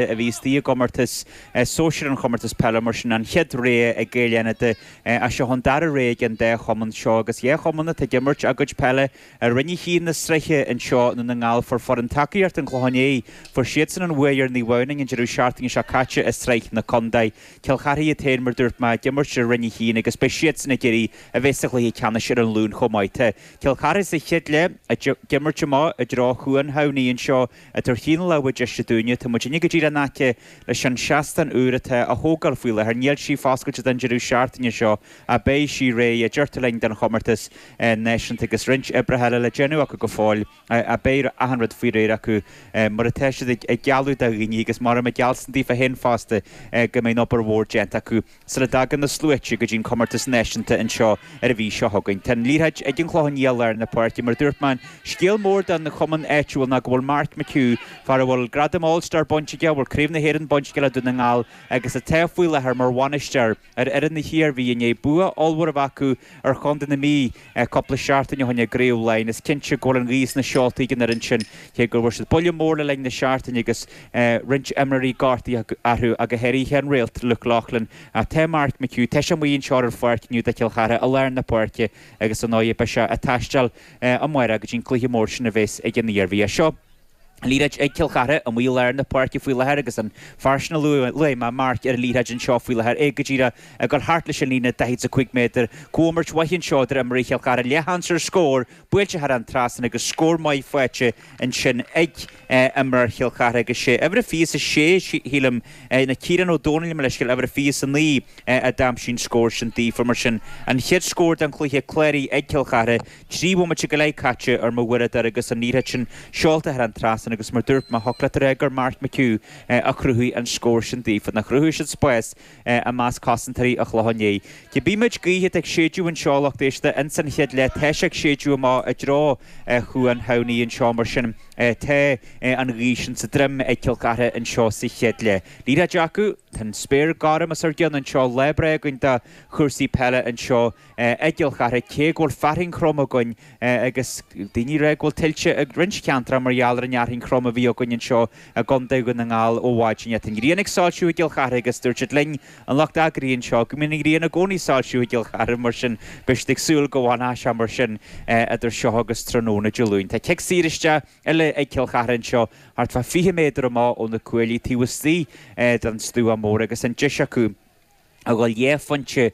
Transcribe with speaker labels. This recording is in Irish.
Speaker 1: A bhí istigh i gcomórtas sóisir an chomórtas peile, mar sin an chéad rogha ag Gaeil Fhánada. Ach seo an dara rogha ag an dá chumann seo agus dhá chumann atá ag imirt a gcuid peile i Roinn 1 na sraithe anseo i nDún na nGall. Fuair foireann tacaíochta an Chlocháin Léith, fuair siadsan an bhuaidh ar Naomh Adhamhnáin an deireadh seachtaine seo caite i sraith na contae. Cill Charthaigh iad féin, mar dúirt mé, ag imirt i Roinn 1 agus beidh siadsan ag iarraidh a bheith sa chluiche ceannais ar an Luan chomh maith. Tá Cill Charthaigh sa chéad leath ag imirt amach i dtreo Chuan Thamhnaigh anseo I dTuar Chinn na Lámha deise dúinne. Tá muidinne go díreach in aice leis an seastán úr atá á thógáil faoi láthair. Níl sí foscailte don deireadh seachtaine seo ach beidh sí réidh, a deirtear linn, don chomórtas náisiúnta agus roinnt oibreacha eile le déanamh acu go fóill ach beidh achan rud faoi réir acu mar atá siad ag gealladh do dhaoine agus mar a geallsan daofa féin fosta go mbeidh an obair mhór déanta acu. sula dtagann na sluaite go dtí an comórtas náisiúnta anseo ar an mhí seo chugainn. Tá an liathróid ag an Chlochán Liath i lár na páirce. Mar a dúirt mé, an scéal mór don chumann áitiúil ná go bhfuil Mark McHugh, fear a bhfuil gradam All Star bainte aige, a bhfuil Craobh na hÉireann bainte aige le Dún na nGall agus atá faoi láthair mar bhainisteoir ar fhoireann na hIarmhí i ndiaidh bua ollmhór a bheith acu ar chontae na Mí cúpla seachtain ó shin i gCraobh Laighean. Is cinnte go bhfuil an ghaoth sna seoltaí ag an fhoireann sin, cé go bhfuair siad buille mór le linn na seachtaine agus roinnt imreoirí gortaithe orthu, ach go háirithe an réalt Luke Loughlin. Ach tá Mark McHugh, tá sé amuigh anseo ar an pháirc inniu do Chill Chartha i lár na páirce agus ar ndóigh beidh sé ag taisteal amárach go dtí an cluiche mór sin a bheas ag an Iarmhí. Seo an liathróid ag Cill Chartha amuigh i lár na páirce faoi láthair agus an fear sin a luaigh mé, Mark, ar an liathróid anseo faoi láthair, é go díreach ag dul thart leis an líne 45 méadar. Comhimirt mhaith anseo idir imreoirí Chill Chartha, leathsheans ar scór, buailte thar an trasnán agus scór maith faighte ansin ag imreoir Chill Chartha agus sé uimhir a 26, sílim, ná Ciarán Ó Dónaill, mo leithscéal, uimhir a 29 a d'aimsigh an scór sin daofa. Mar sin, an chéad scór den chluiche cláraithe ag Cill Chartha. 3 bhomaite go leith caite ar mo uaireadóir agus an liathróid sin seolta thar an trasnán agus mar dúirt mé, thiocfadh leat a rá gur Mark McHugh a chruthaigh an scór sin daofa. Nó chruthaigh siad spás i measc cosantóirí an Chlocháin Léith. Cibé méid gaoithe atá ag séideadh anseo, a lucht éisteachta, ins an chéad leath, tá sé ag séideadh amach i dtreo Chuan Thamhnaigh anseo mar sin tá an ghaoth sin sa droim ag Cill Chartha anseo sa chéad leath. Liathróid acu, tá an spéir gorm os ár gcionn anseo, lá breá againn do chúrsaí peile anseo. I gCill Chartha, cé go bhfuil fearthainn throm againn agus daoine ag rá go bhfuil tuilte i roinnt ceantracha mar gheall ar an fhearthainn throm a bhí againn anseo i gContae Dhún na nGall ó mhaidin. Tá an ghrian ag soilsiú i gCill Chartha agus dúirt siad linn, an lucht eagraithe anseo, go mbíonn an ghrian i gcónaí ag soilsiú i gCill Chartha mar sin beidh siad ag súil go bhfanfaidh sé mar sin idir seo agus tráthnóna Dé Luain. Tá cic saor isteach eile ag Cill Chartha anseo thart fá 20 méadar amach ó na cuaillí taobh istigh den stua mór agus an deis acu a dhul dhá phointe.